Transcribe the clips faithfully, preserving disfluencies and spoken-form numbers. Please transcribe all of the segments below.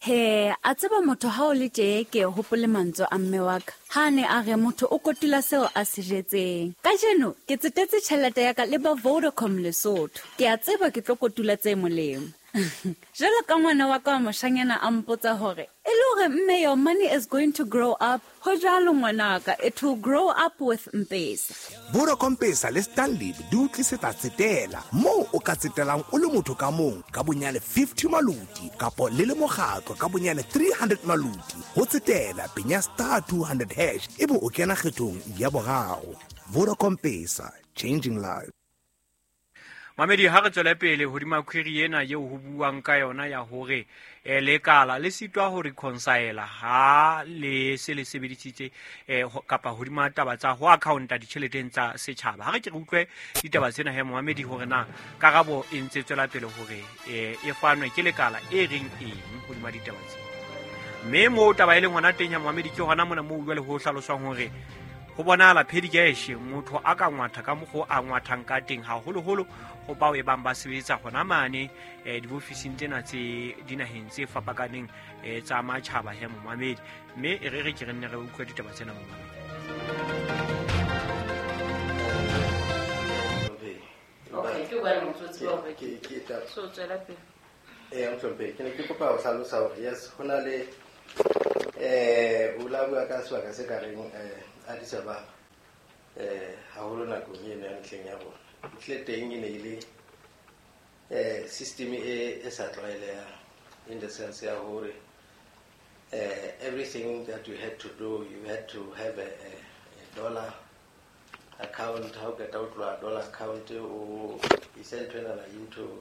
He, a tseba motho ha o le tje ke hopole mantswe a mme wa ka. Ha ne a re motho o kotula seo a se jetseng. Kajeno ke tsetetse tjhelete ya ka le ba Vodacom Lesotho. Ke a tseba ke tlo kotula tse molemo. Jwalo ka ngwana wa ka wa moshanyana a mpotsa hore e le hore mme your money is going to grow up. Ho jwalo ngwanaka, it will grow up with M-Pesa. Vodacom Pesa le Stanley di o tlisetsa tsetela moo o ka tsetelang o le motho ka mong ka bonyane fifty maluti kapo le le mokgatlo ka bonyane three hundred maluti. Ho tsetela penya star two hundred hash ebe o kena kgethong ya boraro. Vodacom Pesa, changing lives. Mamedi ha re tswele pele hodima query ena eo ho buang ka yona ya hore eh, lekala le sitwa ho reconcile ha le se le sebedisitse eh, kapa hodima taba tsa ho accounta ditjheleteng tsa setjhaba. Ha re ke re utlwe ditaba tsena he Mohamedi hore na karabo e ntse tswela pele hore eh, e fanwe ke lekala e reng eng hodima ditaba tsena. Mme moo taba e leng hona teng ya Mohamedi ke hona mona moo jwale ho hlaloswang hore ho bonahala petty cash motho a ka ngwatha ka mokgwa a ngwathang ka teng haholoholo ho bao e bang ba sebetsa hona mane eh, diofising tsena tse dinaheng tse fapakaneng eh, tsa matjhaba he Mohamedi. Mme e re re ke re nne re utlwe ditaba tsena Mohamedi. Okay, ke bua motsotsi wa hore ke ke taba. So tswela pele. Eh, mohlomphehi, ke ne ke kopa ho hlalosa hore yes ho na le eh o la bua ka sebaka se ka reng eh Addis Ababa eh haholo nakong eno ya mehleng ya rona. Ntle teng e ne e le eh system e e sa tlwaelehang in the sense ya hore eh everything that you had to do you had to have a, a, a dollar account. Ha o qeta ho tloha dollar account o ise ntho enana into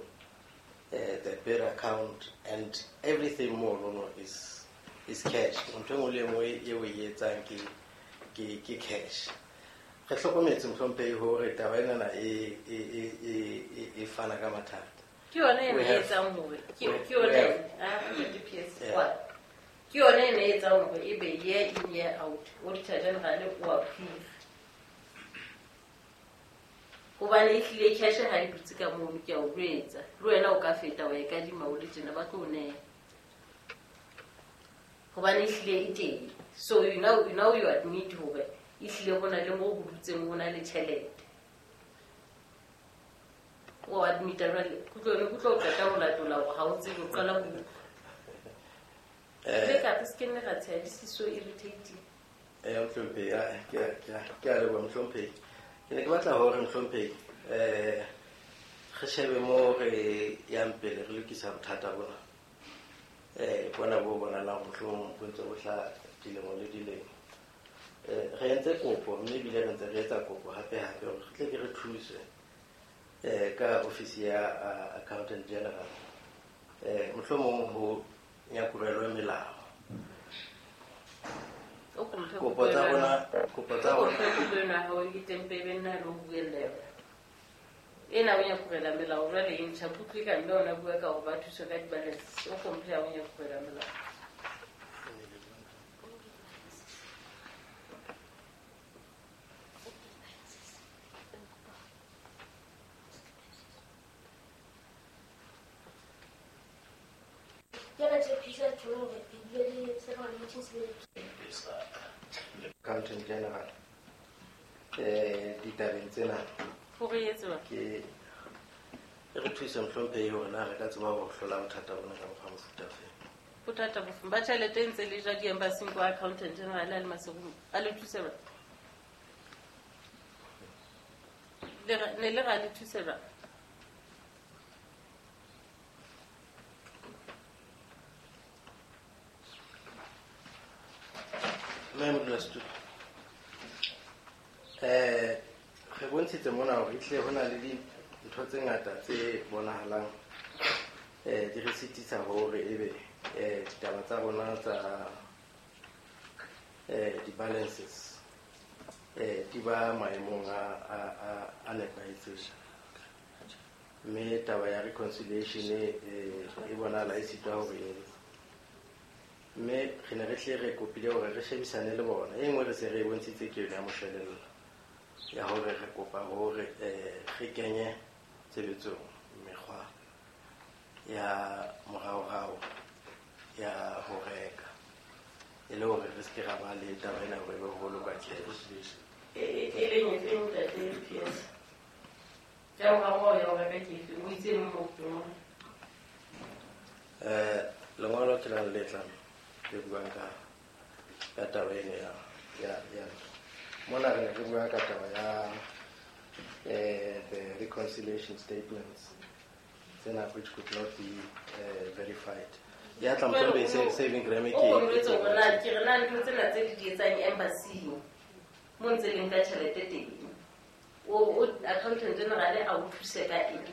eh the birr account and everything more no no is is cash. Ntho e nngwe le e nngwe eo o e etsang ke ke ke cash. Re hlokometse mohlomphehi hore taba enana e e e e e fana ka mathata. Ke yona e We have etsang hore ke we ke yona have ah D P S Yeah. kwa. Ke yona e etsang hore e be year in year out auditor general o approve. Hobane e hlile cash ha e dutse ka mono ke a o jwetsa. Le wena o ka feta wa e kadima o le tjena ba tlo o neha. Hobane e hlile e teng. So you now you now you admit hore e hlile ho na le moo ho dutseng ho na le tjhelete. O admit-a jwale, kutlwe ne kutlwe o qeta ho latola hore ha o tsebe o qala ho utlwa. Eh. Le ka re se ke nne ra tsheha, this is so irritating. Eh, mohlomphehi, ah, ke a, ke a, ke a leboha mohlomphehi. Ke ne ke batla hore mohlomphehi, eh, re shebe moo re yang pele re lokisa bothata bona. Eh, bona bo bonahalang mohlomong bo ntse bo hlaha dilemo le dilemo. Eh, re entse kopo mme ebile re ntse re etsa kopo hape hape hore re tle ke re thuswe eh ka office ya, ah, accountant general. Eh, mohlomong ho nyakurelwe melao. O ko mphe Kopo tsa kopo rona, ena. kopo tsa O ko rona. mphe kopo ena ha o ke teng pele nna le ho buella yona. Ena o nyakurela melao jwale e ntjha kutlwe ka mme ona bua ka hore ba thuswe ka di-balance. O ko mphe ha o nyakurela melao. Accountant General eh ditabeng tsena Hore e etse jwang? ke e re thuse mohlomphehi hore na re ka tseba ho hlola bothata bona ka mokgwa mofuta ofe. Bothata bofe? Ba tjhelete e ntse le ja di-embassy-ing kwa accountant general a le Maseru, a le thuse jwang? Le re, ne le ra le thuse jwang? Mme modulasetulo, eh, re bontshitse mona hore ehlile ho na le dintho tse ngata tse bonahalang, eh, di re sitisa hore ebe, eh, ditaba tsa rona tsa, eh, di-balances, eh, di ba maemong a, a, a, a nepahetseng. Mme taba ya reconciliation, eh, e bonahala e sitwa hore e etse. Mme re ne re hle re kopile hore re shebisane le bona. E nngwe re se re e bontshitse ke yona ya moshwelella ya hore re kopa hore, eh, re kenye tshebetsong mekgwa ya moraorao ya le taba ena hore be ho bolokwa cash. E e leng e feng ntate P S? Ya ho rao ya ho reka ke efe? O itse mo mo. Eh lengolo ke la le tlang le buang ka ka taba ena ya ya ya mona re re bua ka taba ya eh the reconciliation statements tsena which could not be uh, verified. Ya tla mthombe se saving gram ke o jwetse hore na ke re na ntho tsena tse di di etsang embassy mo ntse leng ka tjhelete teng o o accountant general a o thuse ka eng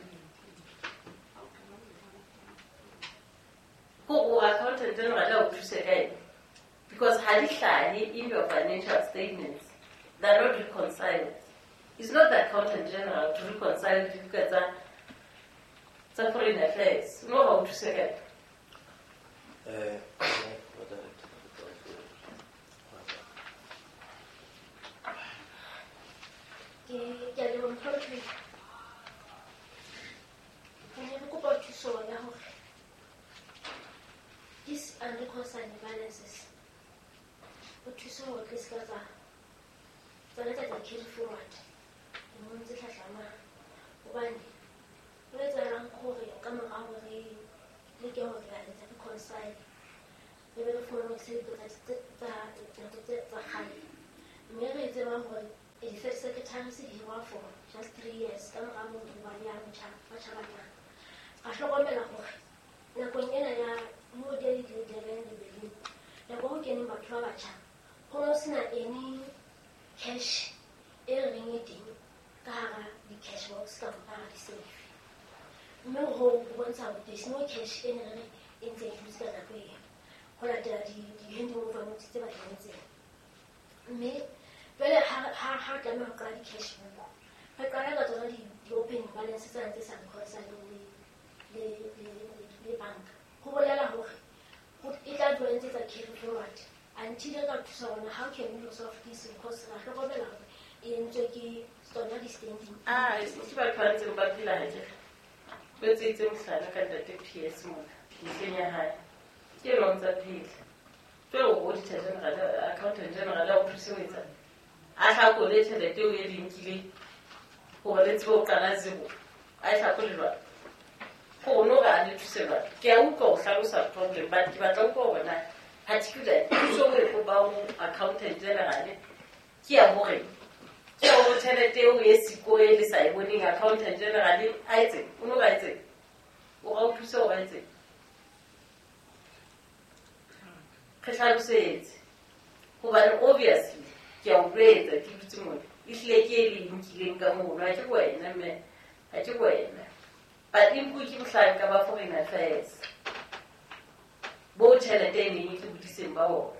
ko o accountant general a o thuse ka eng because ha di hlahe in your financial statements, they are not reconciled. It's not the accountant general to reconcile dibuka tsa tsa foreign affairs. No ba o thuse ka eng? Eh ke ke a leboha mohlomphehi. Re ne re kopa thuso ya hore these unreconciled balances o thuse hore re se ka tsa tsona tsa tsa carry forward lemong tse hlahlamang hobane ho etsahalang hore ka mora hore re leke hore re etsa reconcile re be re fumane hore se tsa tsa nako tse tsa kgale mme re tseba hore di-first secretary se di hirwa for just three years ka mora moo ho ba le ya motjha batjha ba tlang. Ra hlokomela hore nakong ena ya moo di le Durban le Berlin nako ho keneng batho ba batjha ho no sena any cash e re reng e teng ka hara di-cash box kapa ka hara di-safe mme ho ho bontsha hore there's no cash e ne re re e ntse e dutse ka nako eo ho latela di-handing over notes tse ba di entseng mme jwale ha ha ha re tlameha ho qala di-cash book re qala ka tsona di-opening balance tsena tse sa reconcileng le le le le banka ho bolela hore e tla dula e ntse tsa carry forward until re ka thusa rona how can we resolve this because ra hlokomela hore e entswe ke tsona di-standing. Ah, ke batho ba ntseng ba phela hakere. O etseditse mohlala ka ntate P S mona mehleng ya hae. Ke ena o ntsa phela. Jwale o auditor general, accountant general a o thuse ho etsang? A hlakole tjhelete eo e le nkileng hore le tsebe ho qala zero. A e hlakole jwang? Gore no re a le thuse jwang? Ke a utlwa o hlalosa problem but ke batla utlwa hore na particular thuso o e kopang ho accountant general ke ya hore ke ya hore tjhelete eo e siko e le sa e boneng accountant general a etse o no re a etse o ra o thuse hore a etse re hlalosetse hobane obviously ke a o jwetsa ke dutse mona ehlile ke e le nkileng ka mono ha ke wena mme ha ke wena but empa ke mohlanka ba foreign affairs bo tjhelete e neng e tlo bodiseng ba bona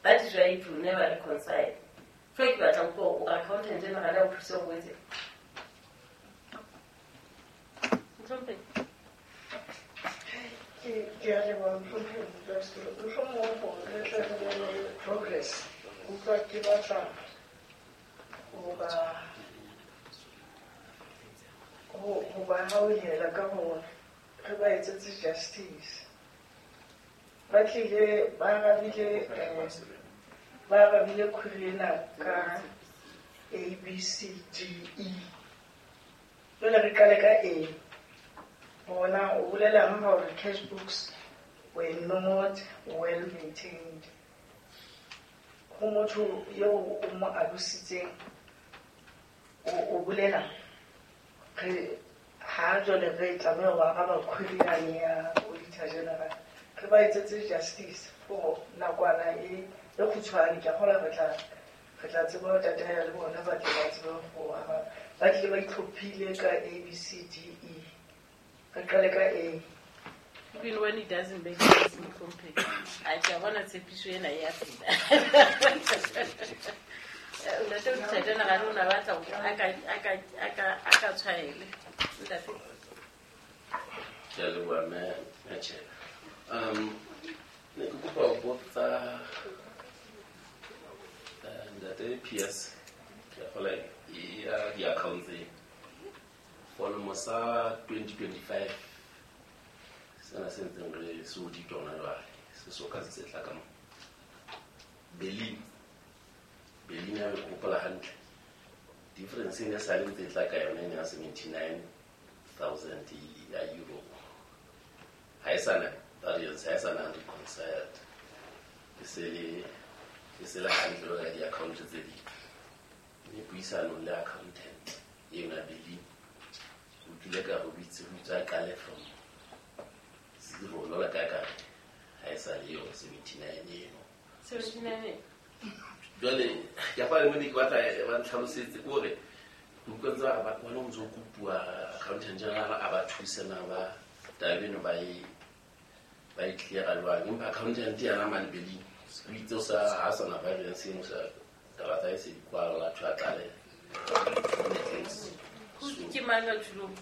that is why it will never reconcile. Jwale ke batla ho utlwa hore o accountant general a o thuse hore o etse Mohlomphehi. Ke ke a leboha mohlomphehi modulasetulo. Mohlomong hore re tle re bone progress utlwa ke batla ho ba ho ho ba hauhela ka hore re ba etsetse justice. Ba tlile ba arabile eh, ba arabile query ena ka A B C D E. Jwale re qale ka A. Bona o bolelang hore cash books were not well maintained. Ho motho eo o mo alositseng o o bolela re ha jwale re tlameha ho araba query yane ya auditor general re ba etsetse justice for nakwana e e kgutshwane ke a kgolwa re tla re tla tseba ho tataela le bona ba tle ba tsebe ho araba. Ba tlile ba itlhophile ka A B C D E. Re qale ka A. Even when it doesn't make sense mohlomphehi a ke a bona tshepiso ena e a phela. Ntate auditor general o na batla hore a ka a ka a ka a ka tshwaele ntate. Ke a leboha mme Matjhela. Um ne ke kopa ho botsa eh, ntate P S ke a kgolwa e ya di-account tse for sa twenty twenty-five sena se ntseng re se auditwa hona jwale se so ka se tla ka mo Berlin Berlin ha ke hopola hantle difference e ne sa le ntse tla ka yona e ne ya seventy-nine thousand ya euro. Ha e sana variance, ha e sana reconciled. E se le e se le hantle jwalo ka di-account tse ding. Mme puisanong le accountant eno ya Berlin o tlile ka re o itse o itse a qale from zero jwalo ka ka ha e sa le eo seventy-nine eno. seventy-nine Jwale ke a fana mone ke batla ba ntlhalosetse ke hore ke utlwa ntse ba re ba bona o ntso kopuwa accountant general a ba thuse na ba taba eno ba e ba e clear-a jwang. Empa accountant yena mane Berlin o itse o sa ha sana variance eno sa taba tsa hae se di kwala a tjho a tlale. Ke mang a tjhulong?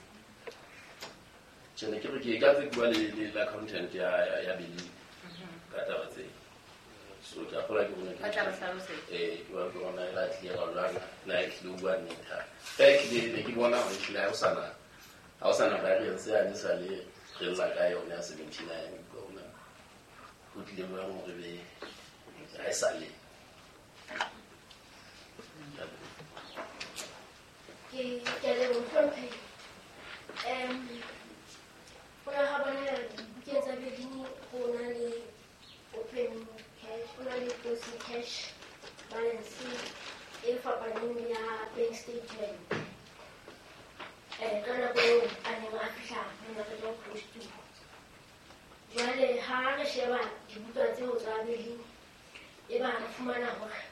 Tjhe, ne ke re ke ka tse bua le le accountant ya ya Berlin ka taba tse. So ke a kgolwa ke bona ke Ba tla ba hlalosetsa. Eh, ke bona ke bona e la clear-a jwang, na e tlile ho bua nnete ha. Ka e tlile ne ke bona hore ehlile ha ho sana ha ho sana variance yane sa le re lla ka yona ya seventy-nine ke bona ho tlile jwang hore be ha e sa le. Ke ke a leboha mohlomphehi. Um ho la ha bona dibukeng tsa Berlin ho na le opening cash, ho na le closing cash balance e fapaneng le ya bank statement. Eh, ka nako eo a neng a fihla mona re tlo close to. Jwale ha re sheba dibuka tseo tsa Berlin e ba re fumana hore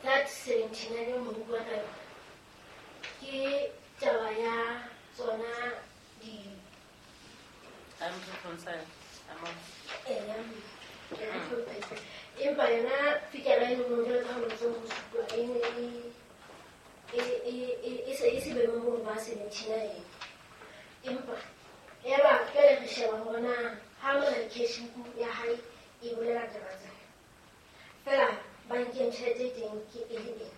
that seventy-nine eo mo bua ka yona ke taba ya tsona di unreconciled amount. Eh, ya empa yona figure e nngwe jwalo ka ha o ntse o supa e ne e e e e se e se boemong bo ba seventy-nine. Empa ya ba jwale re sheba hore na ha mona cash book ya hae e bolela taba tsena. Feela bankeng tjhelete e teng ke e le ena.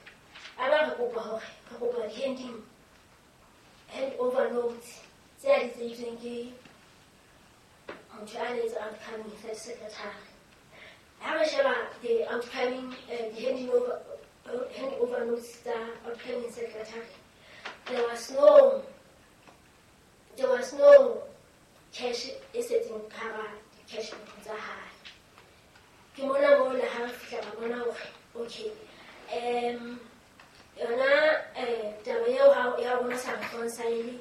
A ba re kopa hore re kopa di-handing hand over notes tse a di tseitsweng ke motho a ne etsa outcoming head secretary. Ha re sheba the outcoming uh, the handing over uh, hand over notes tsa outcoming secretary, there was no there was no cash e setseng ka hara di-cash book tsa hae. Ke mona moo le ha re fihla ra bona hore okay um yona eh taba eo ha ya bona sa reconcile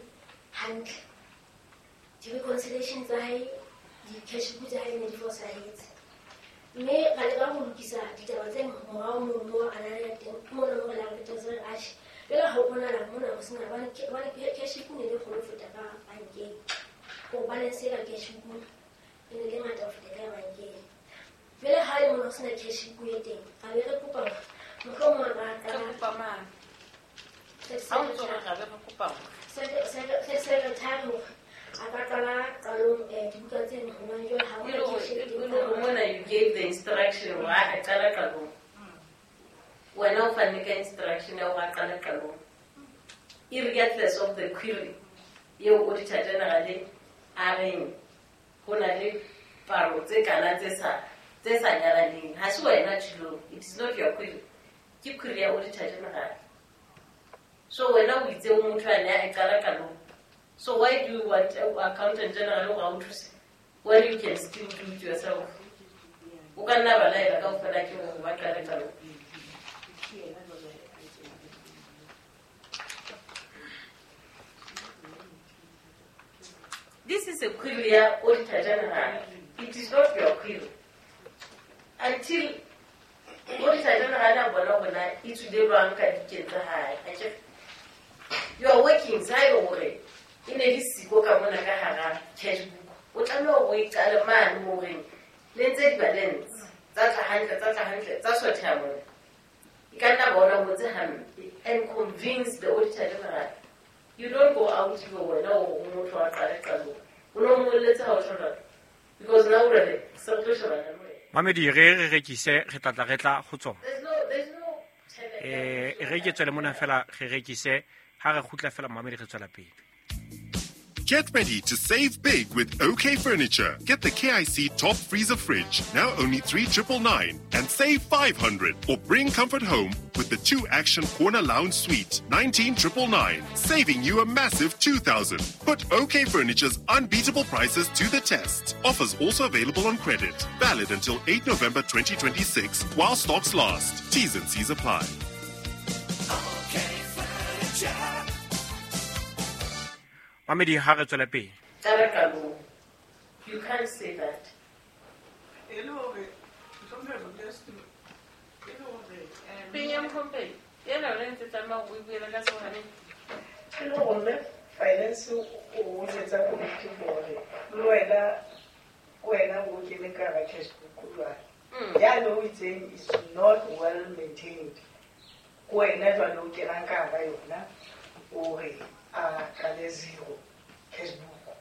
hantle. Di-reconciliation tsa hae, di-cash book tsa hae ne di fosahetse. Mme ra leka ho lokisa ditaba tse morao mono moo a na le teng. Ke mona moo re la re qetetse re atjhe. Jwale ha ho bonahala mona ho sena hobane hobane cash book ne le kgolo ho feta ka bankeng. Hore balance e ka cash book e ne le ngata ho feta ka ya bankeng. Jwale ha le mona ho sena cash book e teng, ra be re kopa hore mohlomong a ka Re kopa mang? Ha o ntso re ra be re kopa hore secretary hore a ka qala qalong eh dibuka tseno hobane jwale ha E hona le hore cash e e teng le hore mona you gave the instruction hore a qala qalong. Wena o fanne ka instruction ya hore a qale qalong. Irregardless of the query eo auditor general a reng ho na le palo tse kana tse sa tse sa nyalaneng. Ha se wena tjhilong. It is not your query. Ke query ya auditor general. So wena o itse o motho a ne a qala qalong. So why do you want accountant general hore a o thuse when you can still do it yourself? O ka nna ba laela kaofela ke hore ba qale qalong. This is a query ya auditor general. It is not your query. Until auditor general a bona hore na e tswile jwang ka dikeng tsa hae. Akere you are working haebe hore e ne le siko ka mona ka hara cash book. O tlameha hore o e qale mane horeng le ntse di-balance tsa tla hantle, tsa tla hantle, tsa sotheha mona. E ka nna bona o ngotse hampe and convince the auditor general. You don't go out ebe wena o motho wa qale qalong. O no molletse ha o tjho jwalo. Because now o re se re tlo shebana le wena. Mamedi re re rekise re tla tla re tla ho tsona. There's no there's no tjhelete. Eh re ke tswele mona fela re rekise ha re kgutla fela mamedi re tswela pele. Get ready to save big with OK Furniture. Get the K I C Top Freezer Fridge, now only three triple nine, and save five hundred. Or bring comfort home with the two Action Corner Lounge Suite, nineteen triple nine, saving you a massive two thousand. Put OK Furniture's unbeatable prices to the test. Offers also available on credit. Valid until eighth November twenty twenty-six while stocks last. T's and C's apply. OK Furniture. Mamedi ha re tswela pele. Qala qalong. You can't say that. E le hore Mohlomphehi Modulasetulo, e le hore eh, Peng ya Mohlomphehi, ena yona e ntse tlameha hore o e buele ka tshohane. E le hore mme finance o jwetsa komiti hore le wena wena o kene ka hara cash book jwale. Mm. Yane o itseng is not well maintained. Ke wena jwale o kenang ka hara yona o re a qale zero cash book.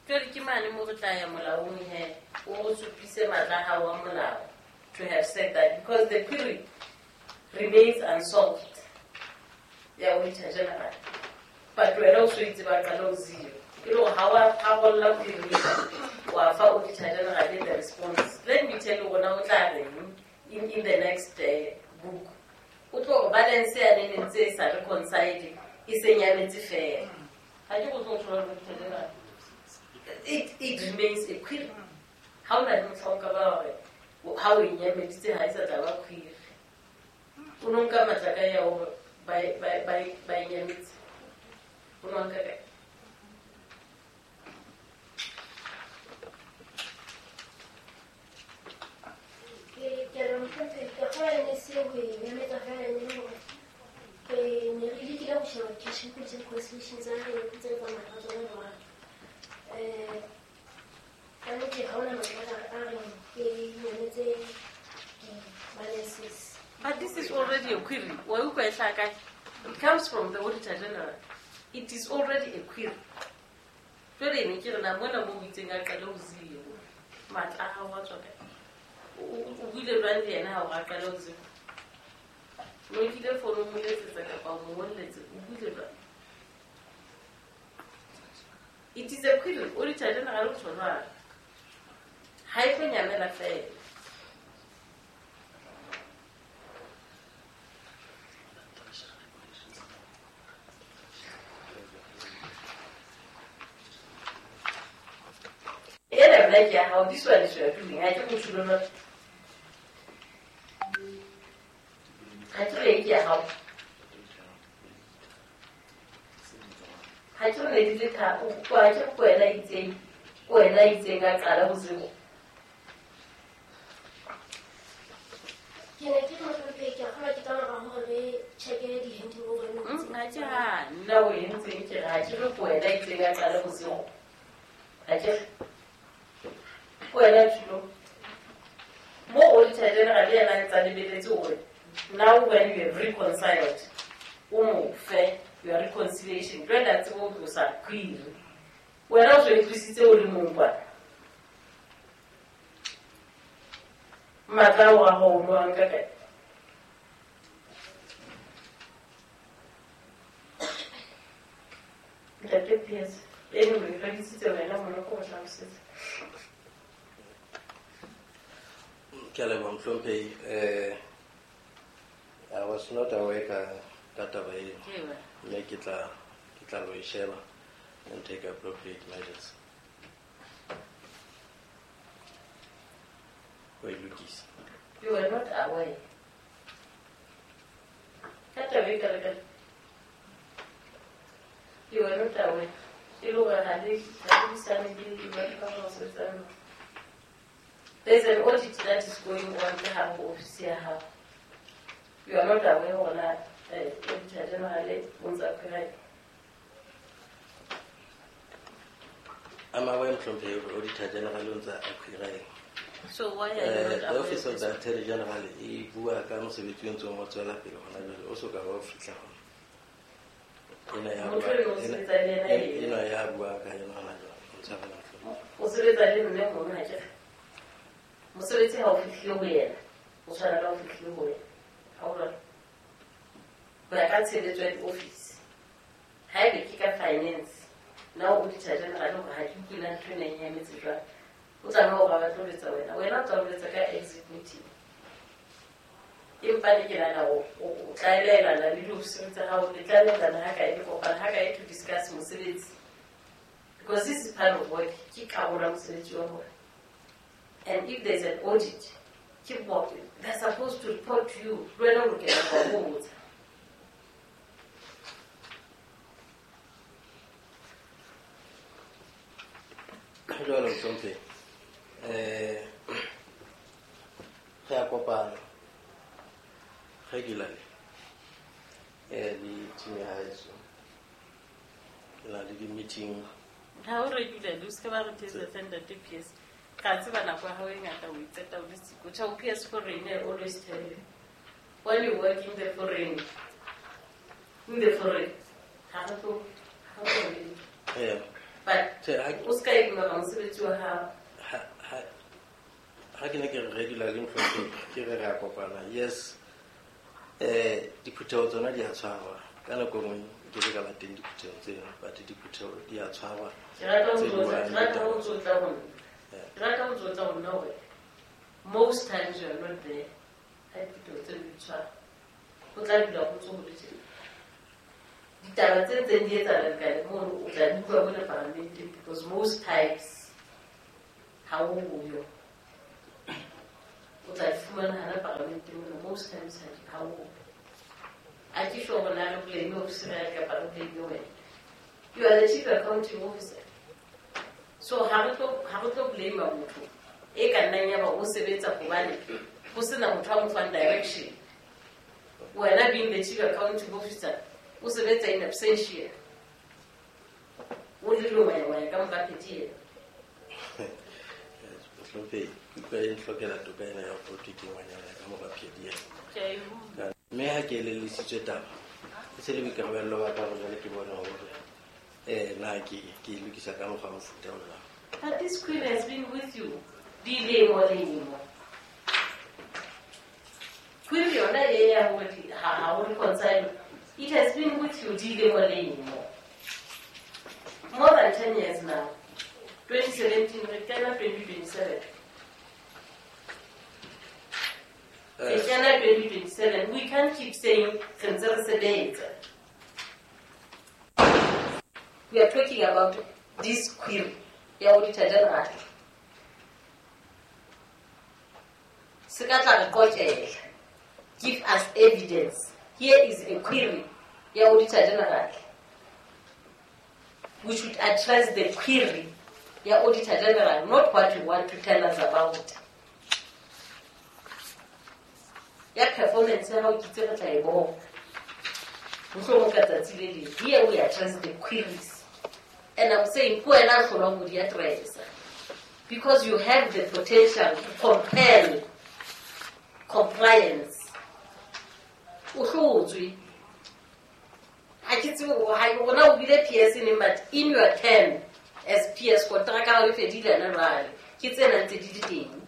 Jwale ke mane mo re tla ya molaong he, o re supise matla a hao a molao to have said that, because the query remains unsolved ya Auditor General. But wena o so itse ba qala ho zero. E le hore ha wa rarolla query wa fa Auditor General the response. Let me tell you hore na o tla reng in, in the next uh, book. O tlo hore balance yane ne ntse e sa reconcile, e se nyametse fela. Ha ke go tlo thola Auditor General. It, it remains a query. Ha o na le mohla o ka ba hore ha o e nyameditse ha e sa tla ba query. O no nka matla ka ya hore ba e, ba e, ba e, ba e nyametse. O no nka kae? Ke ke re Mohlomphehi, ke kgolwa e ne se ho e nyametsa fela e ne le hore ke ne re lekile ho sheba cash book le reconciliation tsa re ntse re tsamaya ka tsona jwalo. Eh, ka nnete ha hona matla a reng ke nyametse di-balances. But this is already a query. Wa utlwa e hlaha kae? It comes from the Auditor General. It is already a query. Jwale ne ke re na mona mo o itseng a qale ho zero. Matla a hao a tswa kae? O, o, o buile jwang le yena ha o a qale ho zero? O nkile fono o mo letsetsa kapa o mo ngolletse, o buile jwang? It is a query. Auditor General o tjho jwalo. Ha e tlo nyamela fela. Ena nna ke ya hao, this one is your doing. Ha ke motho lona. Ha ke re ke ya hao. Ha ke re ne di le tharo, o ha ke re ke wena itseng, ke wena itseng a qala ho zero. Ke ne ke re Mohlomphehi, ke a kgolwa ke ka mora hore re check-e di-handing over notes. Mm, ha ke ha nna o entseng ke re ha ke re ke wena itseng a qala ho zero. Ha ke re ke wena Thulo. Mo Auditor General le yena a ntsa lebeletse hore now when you have reconciled, o mo fe your reconciliation. Jwale a tsebe ho tlosa query. Wena o so e tlositse o le mong kwana. Matla ao a hao o no a nka kae? Ntate P S, anyway, re disitse wena mona ko ho hlalosetsa. Ke a leboha Mohlomphehi. Eh, I was not aware ka, ka taba eno. Ewa. Mme ke tla, ke tla lo e sheba and take appropriate measures. Ho e lokisa. You were not aware. Ka taba e kalo-kalo. You were not aware. E le hore ha le, ha le buisane le batho ba ba sebetsang. There's an audit that is going on ka hare ho ofisi ya hao. You are not aware hore na, eh, Auditor General o ntsa query. I'm aware, Mohlomphehi, hore Auditor General o ntsa a query. So why are you Eh, not the aware Office of of this? the Attorney General e bua ka mosebetsi o ntseng o tswela pele hona jwale, o soka ba o fihla hona. Ena ya Motho bua, eno o ena, sebetsa le yena ena, eng? ena ya bua ka yona hona jwale, o ntshwarela Mohlomphehi. O sebetsa le mme mono ha ke re. Mosebetsi ha o fihlile ho yena, o tshwana le ha o fihlile ho wena. Ha o jwalo? Ho ya ka tshebetso ya di-office. Haebe ke ka finance, na o auditor general hore ha ke utlwe na ntho ena e nyametse jwang. O tlameha hore a ba tlo letsa wena. Wena o tla o letsa ka exit meeting. Empa ne ke nahana hore o tlaelelana le diofisiri tsa hao, le tlaelelana ha kae, le kopana ha kae to discuss mosebetsi. Because this is part of work. Ke karolo ya mosebetsi wa bona. And if there's an audit, keep working. They're supposed to report to you. Le wena o lokela ho ba botsa. Jwale mohlomphehi, eh re a kopana regularly eh le team ya haeso. Ke na le di-meeting. Ha o regularly, o se ke ba re thetsa ntate P S. Ka tseba nako ya hao e ngata o itseta o le siko. Tjhe, o P S foreign, I always tell you. When you work in the foreign, in the foreign, ha re tlo, ha re tlo. Eh. But Tjhe, ha ke o ska ignora mosebetsi wa hao. Ha, ha, ha ke ne ke re regularly mohlomphehi, ke re re a kopana. Yes. Eh, diphutheho tsona di a tshwarwa. Ka nako e nngwe ke ke ka ba teng diphutheho tseno, but diphutheho di a tshwarwa. Ke rata ho Tse tlotla, buang ke rata ho ditaba. tlotla ho nna. Ke rata ho tlotla ho nna hore most times you are not there. Ha diphutheho tseno di tshwarwa. Ho tla dula ho ntso ho le tjena. Ditaba tse ntseng di etsahala lekaleng mono, o tla di utlwa mona paramenteng because most times ha o yo. O tla di fumana hana paramenteng mona, most times ha di, ha o yo. Ha ke sure hore na re blame officer ya kapa re blame wena. You are the chief accounting officer. So ha re tlo, ha re tlo blame motho e ka nnang ya ba o sebetsa hobane ho sena motho a mo fang direction. Wena being the chief accounting officer, o sebetsa in absentia. O le longwengwe ka mora pheti ena. Mohlomphehi, ke utlwa e nhlokela toka ena ya ho thwe ke ngwanyana ka mora pheti ena. Ke a e utlwa. Mme ha ke elellisitswe taba, e se le boikarabello ba ka hore jwale ke bone hore, eh, na ke, ke e lokisa ka mokgwa wa mofuta o jwang. But this queen has been with you dilemo lemo. Queen yona e ya hore di-, ha, ha o reconcile. It has been with you dilemo lemo. More than ten years now. twenty seventeen, re kena twenty twenty-seven. Re kena twenty twenty-seven. We can't keep saying re ntse re sebetsa. We are talking about this query ya Auditor General. Se ka tla re qoqela. Give us evidence. Here is a query ya Auditor General. We should address the query ya Auditor General, not what you want to tell us about. Ya performance ya hao ke itse re tla e bona. Mohlomong ka tsatsi le leng. Here we address the queries. And I'm saying, ke wena a hlolwang ho di addressa. Because you have the potential to compel compliance. O hlotswe. Ha ke tsebe hore ha ke rona o bile P S neng, but in your term as P S, kontraka ya hao e fedile hana jwale. Ke tsena ntse di le teng.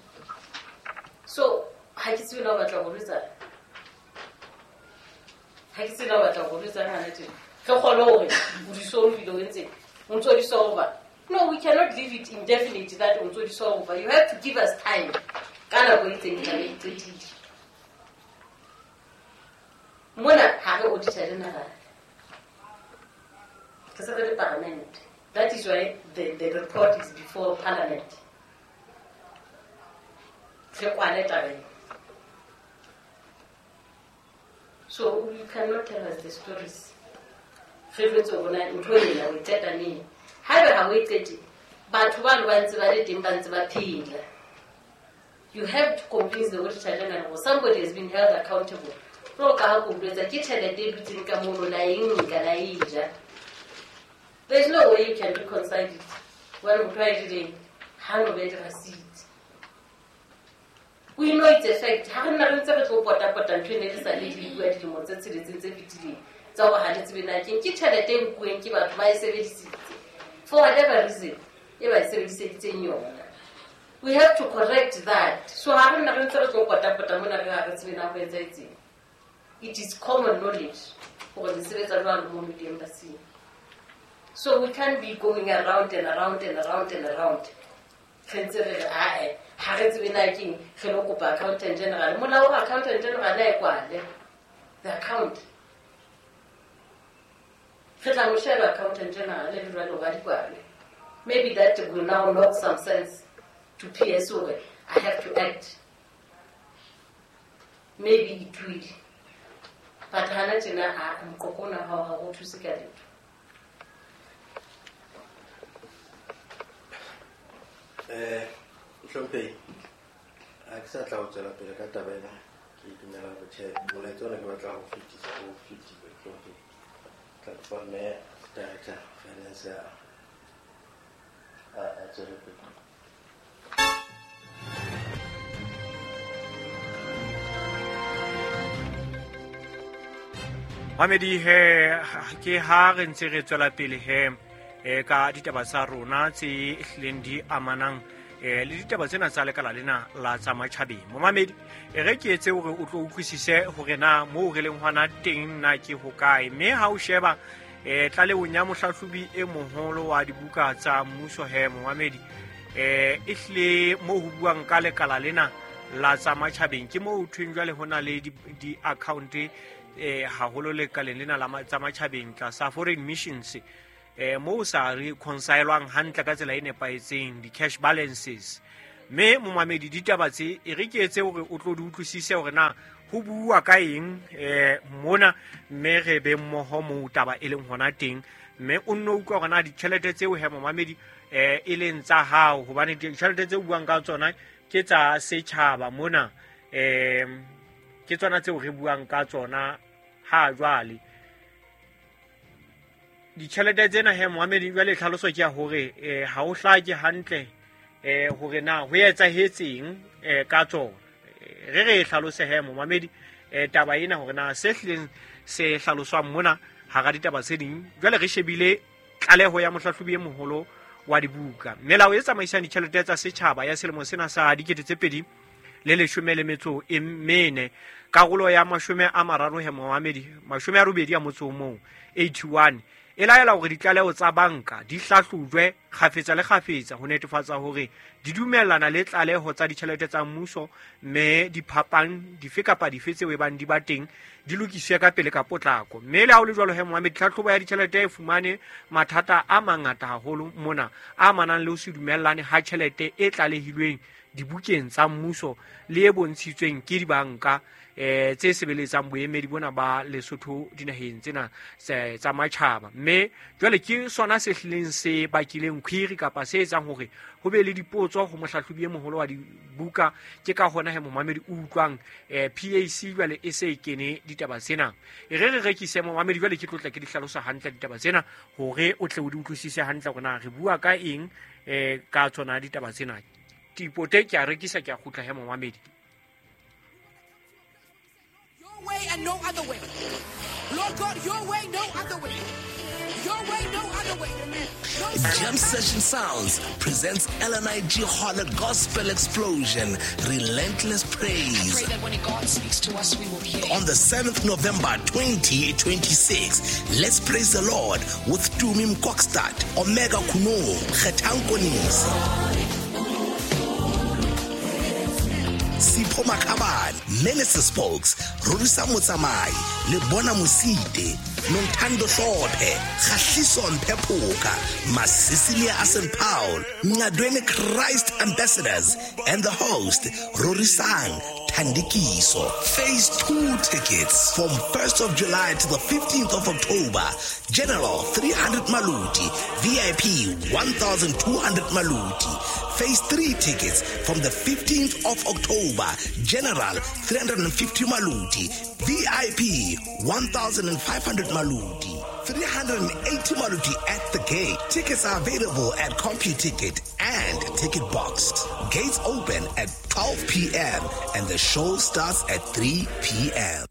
So, ha ke tsebe na o batla ho jwetsa. Ha ke tsebe na o batla ho jwetsa hana tjena. Re kgone hore o di solve-ile o entse. O ntso di solve. No, we cannot leave it indefinite that o ntso di solve. You have to give us time. Ka nako e itseng tla be e qetile. Mona ha re Auditor General. Re se re le parliament. That is why the, the report is before parliament. Re kwale taba ena. So you cannot tell us the stories. Re jwetse hore na ntho ena o e qeta neng. Haeba ha o e qete, batho bano ba ntse ba le teng, ba ntse ba phela. You have to convince the Auditor General or somebody has been held accountable. Jwalo ka ha ke o jwetsa, ke tjhelete e dutseng ka mono, la e nka, la e ja. There is no way you can reconcile it. Hobane motho a e jeleng, ha no be le receipt. We know it's a fact. Ha re nna re ntse re tlo pota-pota ntho ene re sa le di bua dilemo tse tsheletseng tse fetileng. Tsa hore ha le tsebe na keng, ke tjhelete e nkuweng ke batho ba e sebedisitse. For whatever reason, e ba e sebediseditseng yona. We have to correct that. So ha re nna re ntse re tlo pota-pota mona re ha re tsebe na ho etsahetseng. It is common knowledge hore le sebetsa jwang mo di-embassy. So we can't be going around and around and around and around. Re ntse re re ae ha re tsebe na keng re lo kopa accountant general. Molao wa accountant general a e kwale the account. Re tla mo sheba accountant general le jwale hore a di kwale. Maybe that will now knock some sense to P S O. I have to act. Maybe it will. But hana tjena a moqoqo ona ha o thuse ka letho. Eh, Hlomphehi, ha ke sa tla ho tswela pele ka taba ena. Ke dumela hore tjhe, molaetsa ona ke batla ho fetisa, o fetile, Hlomphehi. Tla kopa mme director finance a a tswele pele. Mamedi he ke ha re ntse re tswela pele he e ka ditaba tsa rona tse hlileng di amanang e le ditaba tsena tsa lekala lena la tsa matjhabeng. Momamedi e re ke etse hore o tlo utlwisise hore na moo re leng hona teng na ke hokae, mme ha o sheba e tlalehong ya mohlahlobi e moholo wa dibuka tsa mmuso he momamedi e ehlile moo ho buang ka lekala lena la tsa matjhabeng ke moo thweng jwale hona le di-account eh haholo lekaleng lena la tsa matjhabeng tlasa foreign missions eh moo sa reconcilwang hantle ka tsela e nepahetseng di-cash balances. Mme momamedi ditaba tse e re ke etse hore o tlo di utlwisise hore na ho bua ka eng eh mona, mme re be mmoho moo taba e leng hona teng, mme o nno utlwa hore na ditjhelete tseo he momamedi eh e leng tsa hao, hobane ditjhelete tse buang ka tsona ke tsa setjhaba mona, eh ke tsona tseo re buang ka tsona ha jwale. Ditjhelete tsena he momamedi jwale tlhaloso ke ya hore eh ha o hlake hantle eh hore na ho etsahetseng eh ka tsona. Re re hlalose he momamedi eh taba ena hore na se hlileng se hlaloswang mona hara ditaba tse ding. Jwale re shebile tlaleho ya mohlahlobi e moholo wa dibuka, melao e tsamaisang ditjhelete tsa setjhaba ya selemo sena sa dikete tse pedi le leshome le metso e mene, karolo ya mashome a mararo he momamedi mashome a robedi a motso o mong eighty-one e laela hore ditlaleho tsa banka di hlahlojwe kgafetsa le kgafetsa ho netefatsa hore di dumellana le tlaleho tsa ditjhelete tsa mmuso, mme diphapang dife kapa dife tseo e bang di ba teng di lokiswe ka pele ka potlako. Mme le ha ho le jwalo he momamedi, tlhahlobo ya ditjhelete e fumane mathata a mangata haholo mona a amanang le ho se dumellane ha tjhelete e tlalehilweng dibukeng tsa mmuso le e bontshitsweng ke dibanka eh tse sebeletsang boemedi bona ba Lesotho dinaheng tsena tsa matjhaba. Mme jwale ke sona se hlileng se bakileng query kapa se etsang hore ho be le dipotso ho mohlahlobi e moholo wa dibuka. Ke ka hona he momamedi o utlwang eh P A C jwale e se e kene ditaba tsena. E re re rekise momamedi jwale ke tlotla ke di hlalosa hantle ditaba tsena hore o tle o di utlwisise hantle hore na re bua ka eng eh ka tsona ditaba tsena. Tipote ke a rekisa ke a kgutla he momamedi. Your way and no other way. Lord God, your way, no other way. Your way, no other way. No. Jam Session Sounds presents L N I G Harlot Gospel Explosion, Relentless Praise. I pray that when God speaks to us, we will hear. On the seventh November twenty twenty-six, let's praise the Lord with Tumi Mkokstad, Omega Kuno, Kgetang Konisi, Sipho Makhabane, Minister Spokes, Rorisa Motsamai, Lebona Mosite, Nontando Hlophe, Kgahliso Mpephoka, Masisilia Asen Paul, Ngadwene Christ Ambassadors, and the host, Rorisang Thandikiso. Phase two tickets from first of July to the fifteenth of October. General three hundred Maluti, V I P one thousand two hundred Maluti. Phase three tickets from the fifteenth of October. General three hundred fifty Maluti, V I P one thousand five hundred Maluti, three hundred eighty Maluti at the gate. Tickets are available at CompuTicket and Ticket Box. Gates open at twelve p.m. and the show starts at three p.m.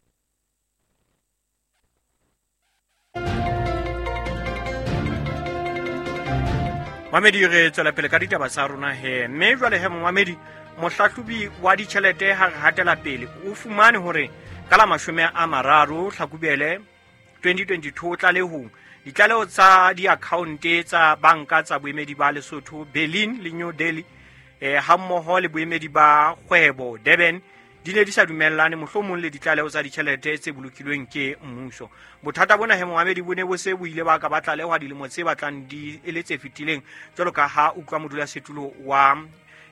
Mamedi re tswela pele ka ditaba tsa rona he, mme jwale he momamedi mohlahlobi wa ditjhelete ha re hatela pele o fumane hore Ka la mashome a mararo Hlakubele twenty twenty-two tlalehong ditlaleho tsa diakhaonte tsa banka tsa boemedi ba Lesotho Berlin le New Delhi eh hammoho le boemedi ba kgwebo Durban di ne di sa dumellane mohlomong le ditlaleho tsa ditjhelete tse bolokilweng ke mmuso. Bothata bona he momamedi bo ne bo se bo ile ba ka ba tlalehwa dilemo tse batlang di e le tse fetileng, jwalo ka ha utlwa modulasetulo wa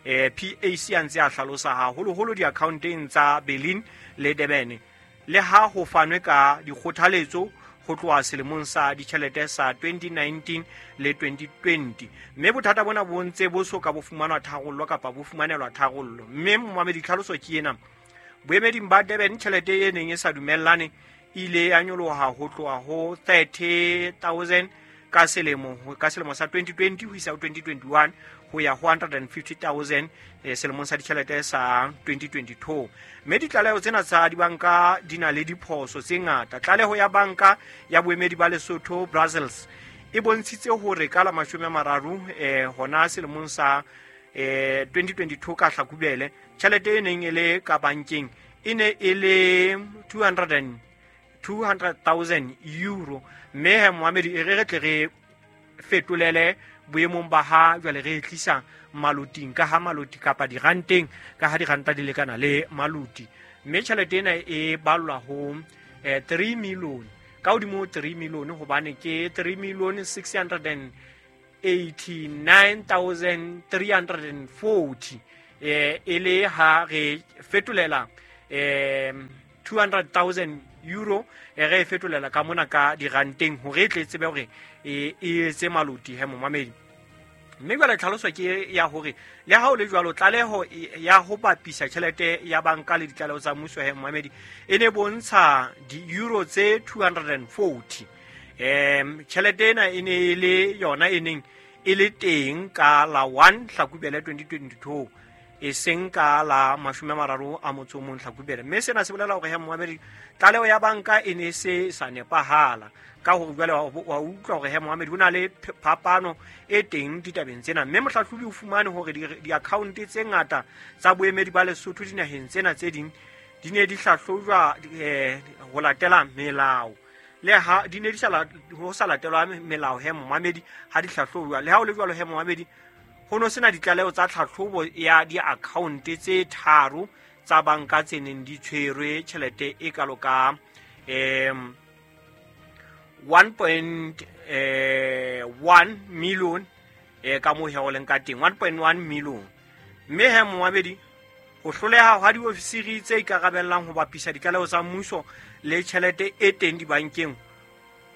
eh, P A C a ntse a hlalosa haholoholo diakhaonteng tsa Berlin le Durban. Le ha ho fanwe ka dikgothaletso ho tloha selemong sa ditjhelete sa twenty nineteen le twenty twenty, mme bothata bona bo ntse bo so ka bo fumanwa tharollo kapa bo fumanelwa tharollo. Mme momamedi tlhaloso ke ena: boemeding ba Durban tjhelete e neng e sa dumellane ile ya nyoloha ho tloha ho thirty thousand ka selemo ka selemo sa twenty twenty ho isa ho twenty twenty-one ho ya ho one hundred fifty thousand eh, selemong sa ditjhelete sa twenty twenty-two. Mme ditlaleho tsena tsa dibanka di na le diphoso tse ngata. Tlaleho ya banka ya boemedi ba Lesotho Brussels e bontshitse hore ka la mashome a mararo eh, hona selemong sa eh, twenty twenty-two ka Hlakubele tjhelete e neng e le ka bankeng e ne e le two hundred thousand euro. Mme he momamedi e re re tle re fetolele boemong ba ha jwale re e tlisa maloting ka ha maloti kapa diranteng ka ha diranta di lekana le maloti. Mme tjhelete ena e ballwa ho eh, three million ka hodimo three million hobane ke three million six hundred eighty-nine thousand three hundred forty eh e le ha re fetolela eh two hundred thousand euro e re fetolela ka mona ka diranteng hore e tle tsebe hore e etse maloti he momamedi. Mme jwale tlhaloso ke ya hore le ha o le jwalo tlaleho ya ho bapisa tjhelete ya banka le ditlaleho tsa mmuso he momamedi e ne bontsha di-euro tse two hundred forty. Em tjhelete ena e ne e le yona e neng e le teng ka la one Hlakubele twenty twenty-two e seng ka la mashome a mararo a motso o mong Hlakubele. Mme sena se bolela hore he momamedi tlaleho ya banka e ne se sa nepahala ka hore jwale wa utlwa hore he momamedi ho na le phapano e teng ditabeng tsena. Mme mohlahlobi o fumane hore di-account tse ngata tsa boemedi ba Lesotho dinaheng tsena tse ding di ne di hlahlojwa eh, ho latela melao le ha di ne di sa ho sa latelwa melao he momamedi ha di hlahlojwa. Le ha o le jwalo he momamedi ho no sena ditlaleho tsa tlhahlobo ya di-account tse tharo tsa banka tse neng di tshwerwe tjhelete e kalo ka um one point one million eh, ka moo he ho leng ka teng one point one million. Mme he momamedi ho hloleha hwa diofisiri tse ikarabellang ho bapisa ditlaleho tsa mmuso le tjhelete e teng dibankeng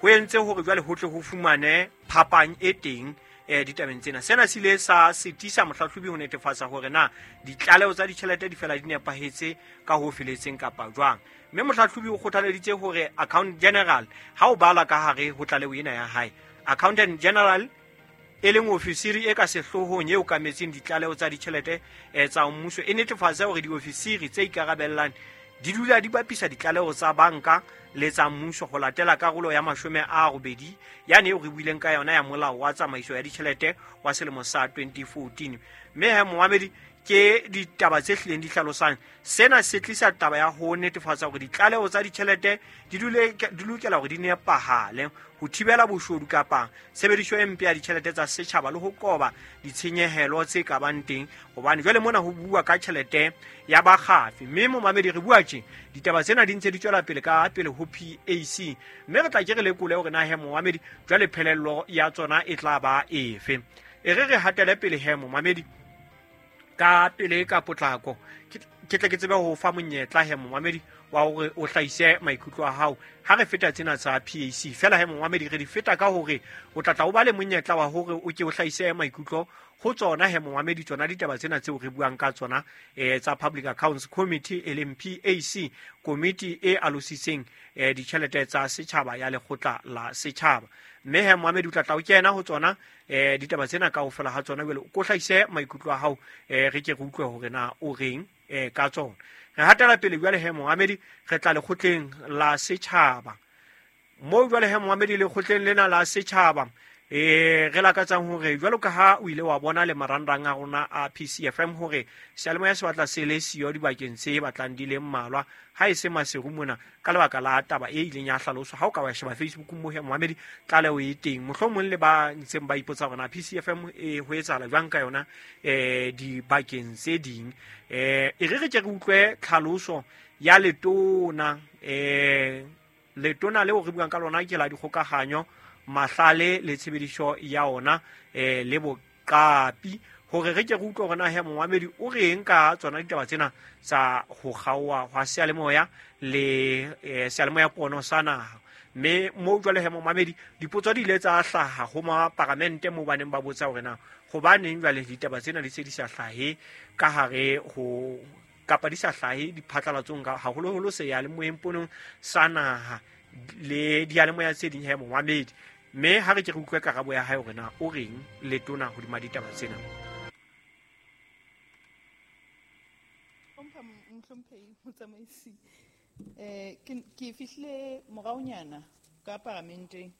ho entse hore jwale ho tle ho fumane phapang e teng eh ditabeng tsena. Sena se ile sa sitisa mohlahlobi ho netefatsa hore na ditlaleho tsa ditjhelete di fela di nepahetse ka ho feletseng kapa jwang. Mme mohlahlobi o kgothaleditse hore account general ha o bala ka hare ho tlaleho ena ya hae, accountant general e leng ofisiri e ka sehloohong e okametseng ditlaleho tsa ditjhelete tsa mmuso e netefatse hore diofisiri tse ikarabellang di dula di bapisa ditlaleho tsa banka le tsa mmuso ho latela karolo ya mashome a robedi yane eo re buileng ka yona ya molao wa tsamaiso ya ditjhelete wa selemo sa twenty fourteen. Mme he momamedi ke ditaba tse hlileng di hlalosang sena se tlisa taba ya ho netefatsa hore ditlaleho tsa ditjhelete di dule di lokela hore di nepahale ho thibela boshodu kapa tshebediso e mpe ya ditjhelete tsa setjhaba le ho qoba ditshenyehelo tse ka bang teng, hobane jwale mona ho bua ka tjhelete ya bakgafi. Mme momamedi re bua tje ditaba tsena di ntse di tswela pele ka pele ho P A C, mme re tla ke re lekole hore na he momamedi jwale phelello ya tsona e tla ba efe. E re re hatele pele he momamedi ka pele ka potlako ke tle ke tsebe ho fa monyetla he momamedi wa hore o hlahise maikutlo a hao ha re feta tsena tsa P A C. Fela he momamedi re di feta ka hore o tla tla o ba le monyetla wa hore o ke o hlahise maikutlo ho tsona he momamedi tsona ditaba tsena tseo re buang ka tsona eh tsa Public Accounts Committee e leng P A C, komiti e alositseng eh ditjhelete tsa setjhaba ya lekgotla la setjhaba. Mme he momamedi o tla tla o kena ho tsona eh ditaba tsena kaofela ha tsona jwale o ko hlahise maikutlo a hao eh re ke re utlwe hore na o reng eh ka tsona. Re hatela pele jwale he momamedi re tla lekgotleng la setjhaba. Moo jwale he momamedi lekgotleng lena la setjhaba E re lakatsang hore jwalo ka ha o ile wa bona le marangrang a rona a P C F M hore seyalemoya se batla se le siyo dibakeng tse batlang di le mmalwa ha e se Maseru mona ka lebaka la taba e ileng ya hlaloswa. Ha o ka wa sheba Facebook mo he momamedi tlaleho e teng, mohlomong le ba ntseng ba ipotsa hore na P C F M e ho etsahala jwang ka yona eh dibakeng tse ding. Eh e re re ke re utlwe tlhaloso ya letona eh letona leo re buang ka lona ke la dikgokahanyo mahlale le tshebediso ya ona eh le boqapi hore re ke re utlwe hore na he momamedi o reng ka tsona ditaba tsena tsa ho kgaoha hwa seyalemoya le eh, seyalemoya pono sa naha. Mme mo jwale he momamedi dipotso di ile tsa hlaha ho maparamente mo baneng ba botsa hore na hobaneng jwale ditaba tsena di se di sa hlahe ka hare ho kapa di sa hlahe diphatlalatsong ka haholoholo seyalemoyeng ponong sa naha le diyalemoya tse ding he momamedi. Mme ha re ke re utlwe karabo ya hae hore na o reng letona hodima ditaba tsena. Hlompha mohlomphehi motsamaisi, eh ke ke fihlile moraonyana ka paramenteng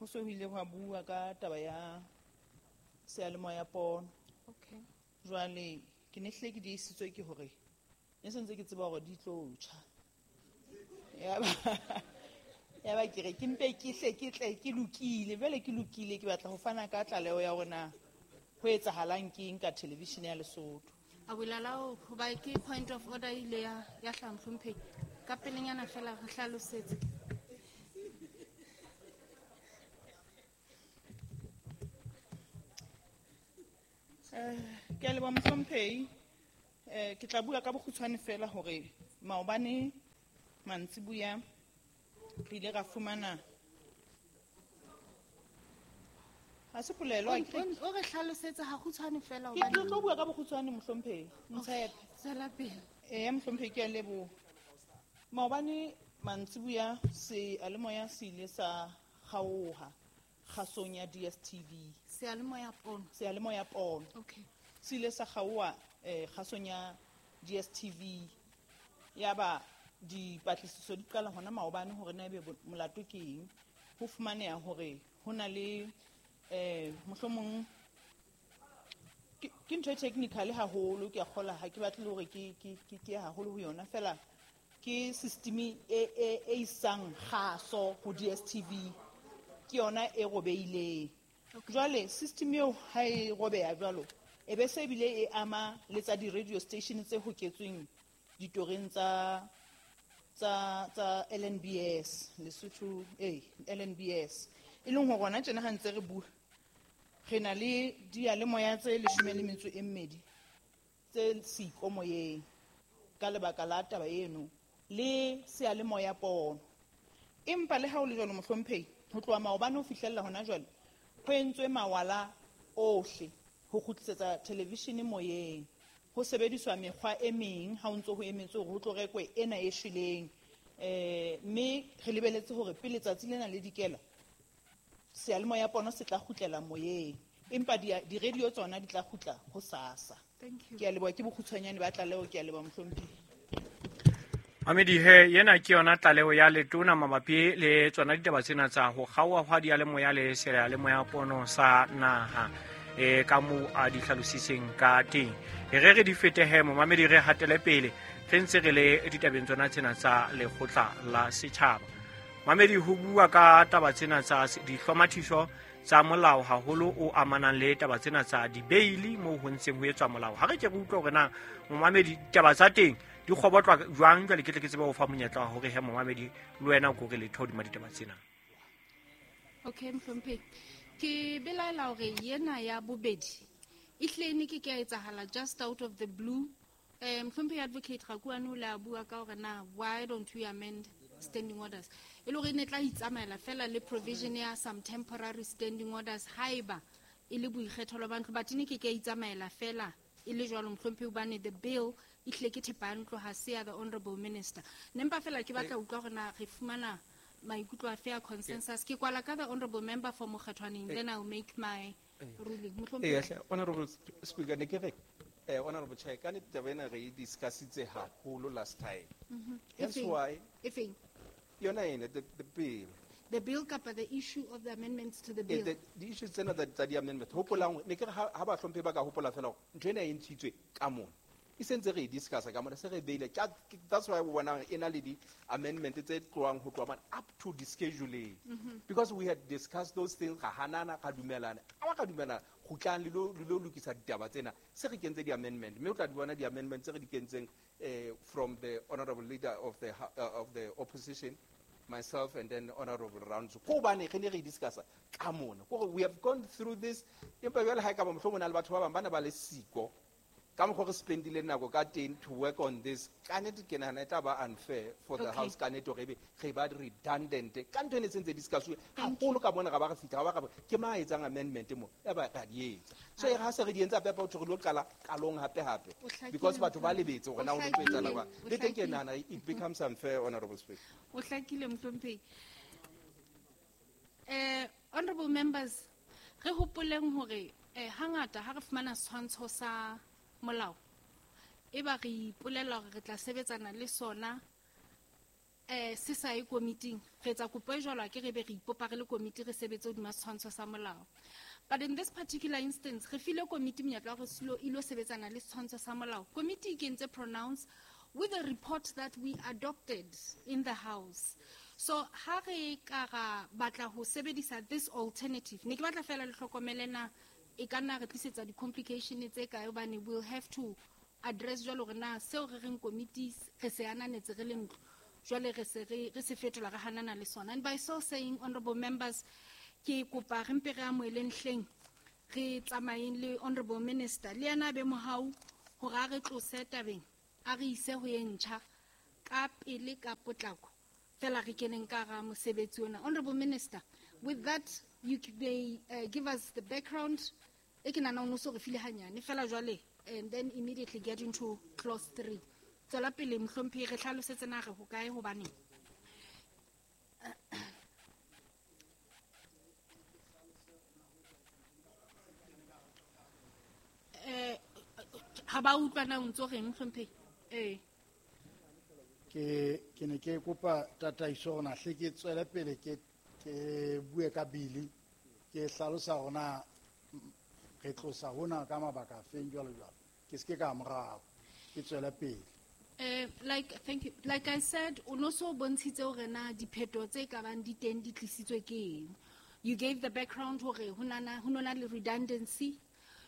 ho so ho ile hwa bua ka taba ya seyalemoya pono. Okay. Jwale ke ne hle ke diisitswe ke hore ne sentse ke tseba hore di tlo tjha. Ya ba ya ba ke re ke mpe ke hle ke tle ke lokile jwale ke lokile ke batla ho fana ka tlaleho ya hore na ho etsahalang ke eng ka television ya Lesotho. A bolala hoba ke point of order ile ya ya hlaha mohlomphehi ka pelenyana fela re hlalosetse. Eh ke a leboha mohlomphehi, eh ke tla bua ka bokgutshwane fela hore maobane mantsibuya re ile ra fumana ha se polelo a ke o re hlalosetse ha kgutshwane fela ke tlo bua ka bokgutshwane mohlomphehi ntshepe tswela pele. Eh mohlomphehi ke a leboha. Maobane mantsibuya seyalemoya se ile sa kgaoha kgasong ya D S T V. Seyalemoya pono. Seyalemoya pono. Okay. Se ile sa kgaoha eh kgasong ya D S T V ya ba dipatlisiso di qala hona maobane hore na ebe molato ke eng. Ho fumaneha hore ho na le eh mohlomong ke ntho e technical haholo ke a kgola ha ke batle hore ke ke ke ke haholo ho yona fela ke system e e e isang kgaso ho D S T V ke yona e robeileng. Jwale system eo ha e robeha jwalo e be se bile e ama le tsa di-radio station tse hoketsweng ditoreng tsa tsa tsa L N B S Lesotho eh L N B S e leng hore hona tjena ha ntse re bua re na le diyalemoya tse leshome le metso e mmedi tse siko moyeng ka lebaka la taba eno le seyalemoya pono. Empa le ha o le jwalo mohlomphehi ho tloha maobane ho fihlella hona jwale ho entswe mawala ohle ho kgutlisetsa television moyeng. Ho sebediswa mekgwa e meng ha o ntso ho emetse hore ho tlo rekwe ena e shweleng eh mme re lebeletse hore pele tsatsi lena le dikela seyalemoya pono se tla kgutlela moyeng empa di-radio tsona di tla kgutla ho sasa. Thank you. Ke a leboha ke bokgutshwanyane ba tlaleho ke a leboha mohlomphehi. Mamedi he yena ke yona tlaleho ya letona mabapi le tsona ditaba tsena tsa ho kgaoha hwa diyalemoya le seyalemoya pono sa naha e ka moo a di hlalositseng ka teng. E re re di fetehe momamedi re hatele pele re ntse re le ditabeng tsona tsena tsa lekgotla la setjhaba. Mamedi ho bua ka taba tsena tsa dihlomathiso tsa molao haholo o amanang le taba tsena tsa dibeili moo ho ntseng ho etswa molao. Ha re ke re utlwe hore na momamedi ditaba tsa teng di kgobotlwa jwang jwale ke tle ke tsebe ho fa monyetla wa hore he momamedi le wena o ko re letho hodima ditaba tsena. Okay mohlomphehi ke belaela hore yena ya bobedi e hlile ne ke ke a etsahala just out of the blue. Eh mohlomphehi advocate Rakuane o la bua ka hore na why don't we amend standing orders e le hore ne tla itsamaela fela le provision ya some temporary standing orders haeba e le boikgethelo ba ntlo but ne ke ke a itsamaela fela e le jwalo mohlomphehi hobane the bill e hlile ke thepa ya ntlo ha se ya the honorable minister. Ne mpa fela ke batla utlwa hore na re fumana maikutlo a fair consensus. Ke kwala ka the honorable member for Mokgethwaneng then I'll make my ruling. Eh honorable speaker ne ke re eh honorable chair ka ne taba ena re e discussitse haholo last time. Mhm. That's why Efeng yona ena the the bill The bill kapa the issue of the amendments to the bill. Eh, the issues tsena tsa tsa di-amendment hopolang ne ke re ha ba hlomphe ba ka hopola fela hore ntho ena e ntshitswe ka mona e sentse re e discussa ka mona se re beile. That's why we bona e na le di-amendment tse tlohang ho tloha mane up to the scheduling, mm-hmm. because we had discussed those things, ra hanana, ra dumelana, a ba ka dumelana kgutlang le lo le lo lokisa ditaba tsena se re kentse di-amendment mme o tla di bona di-amendment tse re di kentseng eh, from the honorable leader of the, uh, of the opposition, myself, and then Honorable Rounds. Ko hobane re ne re discussa ka mona. Ko we have gone through this. Empa jwale ha e ka ba mohlomong na le batho ba bang ba ne ba le siko ka mokgwa re spendile nako ka teng to work on this. Ka nnete ke nahana e tla ba unfair for the okay. house ka nnete hore ebe re ba redundant ka ntho e ne sentse discuss-uwe haholo ka mona ra ba re fihla ra ba ke mang a etsang amendment mo ya ba ra di etsa. So e re ha se re di entse hape hape ho thwe re lo qala qalong hape hape because batho ba lebetse hore na ho no tlo etsahala jwang. Le teng ke nahana it becomes unfair, Honorable Speaker. O hlakile mohlomphehi. Eh, honorable members, re hopoleng hore eh hangata ha re fumana setshwantsho sa molao e ba re ipolela hore re tla sebetsana le sona eh se sa ye komiting, re etsa kopo e jwalo ke re be re ipopa re le komiti re sebetse hodima setshwantsho sa molao. But in this particular instance re file komiti monyetla wa hore se ilo sebetsana le setshwantsho sa molao. Komiti e kentse pronounce with a report that we adopted in the house. So ha re ka ra batla ho sebedisa this alternative, ne ke batla fela le hlokomele na e ka nna re tlisetsa di-complication tse kae hobane we'll have to address jwalo hore na seo re reng committees re se ananetse re le ntlo jwale re se re re se fetola re hanana le sona. And by so saying, honorable members, ke kopa re mpe re amoheleng hleng re tsamayeng le honorable minister le yena a be mohau hore a re tlose tabeng a re ise ho e ntjha ka pele ka potlako fela re keneng ka hara mosebetsi ona. Honorable minister, with that you may uh, give us the background e ke nahana o no so re file hanyane fela jwale, and then immediately get into clause three. Tswela pele mohlomphehi re hlalosetse na re hokae hobaneng. Eh ha ba utlwa na o ntso reng mohlomphehi? Eh ke ke ne ke kopa tataiso hore na hle ke tswele pele ke ke bue ka bili ke hlalosa hore na re tlosa hona ka mabaka a feng jwalo jwalo ke se ke ka morao ke tswele pele. Eh like thank you, like I said o no so bontshitse hore na dipheto tse ka bang di teng di tlisitswe ke eng. You gave the background hore ho nana ho nona le redundancy.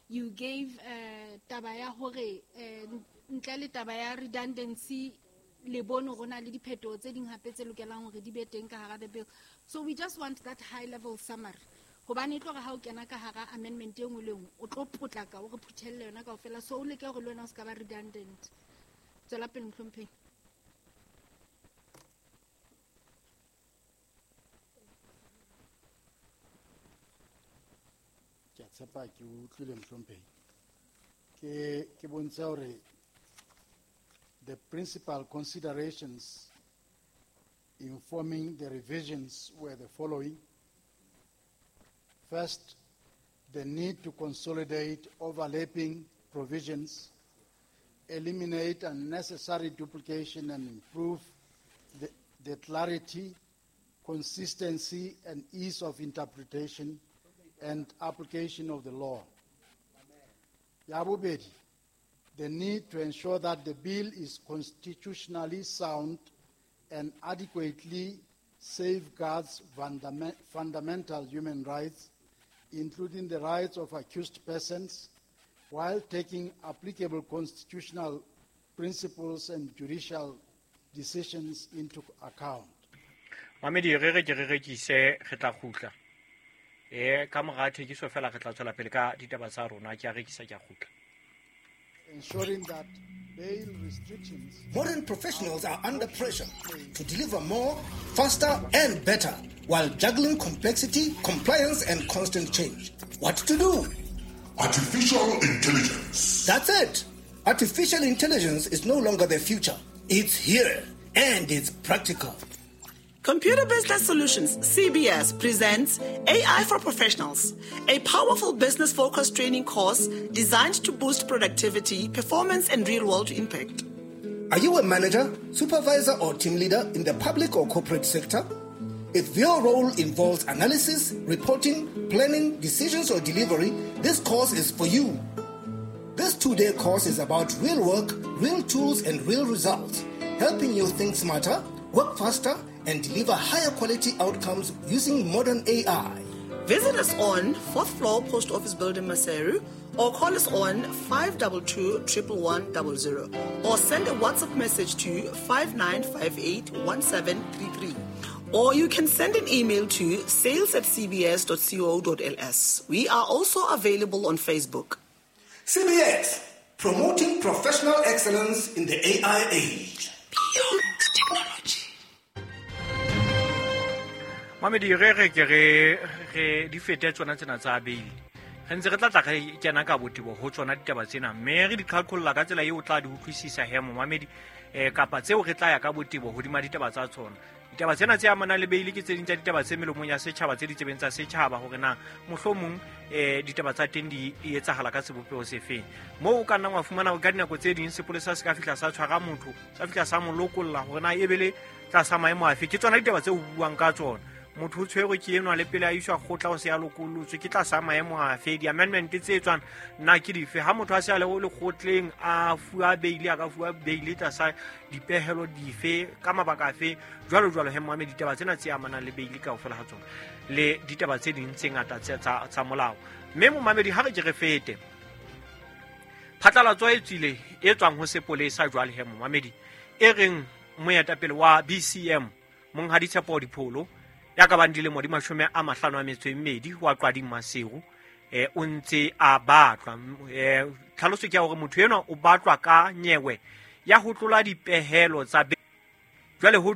You gave uh, taba ya hore eh, ntle le taba ya redundancy le bone hore na le dipheto tse ding hape tse lokelang hore di be teng ka hara the bill. So we just want that high level summary hobane e tlo re ha o kena ka hara amendment e nngwe le nngwe o tlo potlaka o re phuthelle yona kaofela, so o leke hore le wena o se ka ba redundant. Tswela pele mohlomphehi. Ke a tshepa ke utlwile mohlomphehi. Ke ke bontsha hore the principal considerations informing the revisions were the following. First, the need to consolidate overlapping provisions, eliminate unnecessary duplication, and improve the, the clarity, consistency, and ease of interpretation and application of the law. Ya bobedi, the need to ensure that the bill is constitutionally sound and adequately safeguards fundament, fundamental human rights, including the rights of accused persons, while taking applicable constitutional principles and judicial decisions into account. Mamedi re re ke re rekise re tla kgutla. Eh ka mora thekiso fela re tla tswela pele ka ditaba tsa rona ke a rekisa ke a kgutla. Ensuring that bail restrictions. Modern professionals are under pressure to deliver more, faster, and better while juggling complexity, compliance, and constant change. What to do? Artificial intelligence. That's it. Artificial intelligence is no longer the future. It's here, and it's practical. Computer Business Solutions, C B S, presents A I for Professionals, a powerful business-focused training course designed to boost productivity, performance, and real-world impact. Are you a manager, supervisor, or team leader in the public or corporate sector? If your role involves analysis, reporting, planning, decisions, or delivery, this course is for you. This two-day course is about real work, real tools, and real results, helping you think smarter, work faster, and deliver higher quality outcomes using modern A I. Visit us on fourth floor Post Office Building, Maseru, or call us on five two two, triple one, double zero, or send a WhatsApp message to five nine five eight, one seven three three. Or you can send an email to sales at c b s dot co dot l s. We are also available on Facebook. C B S, promoting professional excellence in the A I age. Beyond technology. Mamedi re re ke re re di fete tsona tsena tsa bail. Re ntse re tla tla re kena ka botebo ho tsona ditaba tsena, mme re di qhaqholla ka tsela eo o tla di utlwisisa he momamedi, eh kapa tseo re tla ya ka botebo hodima ditaba tsa tsona. Ditaba tsena tse amanang le bail ke tse ding tsa ditaba tse melomong ya setjhaba, tse ditsebeng tsa setjhaba, hore na mohlomong eh ditaba tsa teng di etsahala ka sebopeho sefeng. Moo o ka nnang wa fumana ka dinako tse ding sepolesa se ka fihla sa tshwara motho, sa fihla sa mo lokolla hore na e be le tlasa maemo afe. Ke tsona ditaba tseo ho buang ka tsona. Motho o tshwerwe ke enwa le pele a iswa kgotla o se a lokolotswe, ke tlasa maemo afe, di-amendment tse etswang na ke dife. Ha motho a se a le lekgotleng a fuwa bail, a ka fuwa bail tlasa dipehelo dife, ka mabaka afe, jwalo jwalo. He moame, ditaba tsena tse amanang le bail kaofela ha tsona le ditaba tse ding tse ngata tsa, tsa, tsa molao. Mme momamedi, ha re ke re fete phatlalatso e tswile e tswang ho sepolesa jwale he momamedi, e reng moetapele wa B C M Monghadi Tshepo Dipholo ya ka bang dilemo di mashome a mahlano a metso e mmedi wa Qwading Maseru, eh o ntse a batlwa. Eh tlhaloso ke ya hore motho enwa o batlwa ka nyewe ya ho tlola dipehelo tsa jwale ho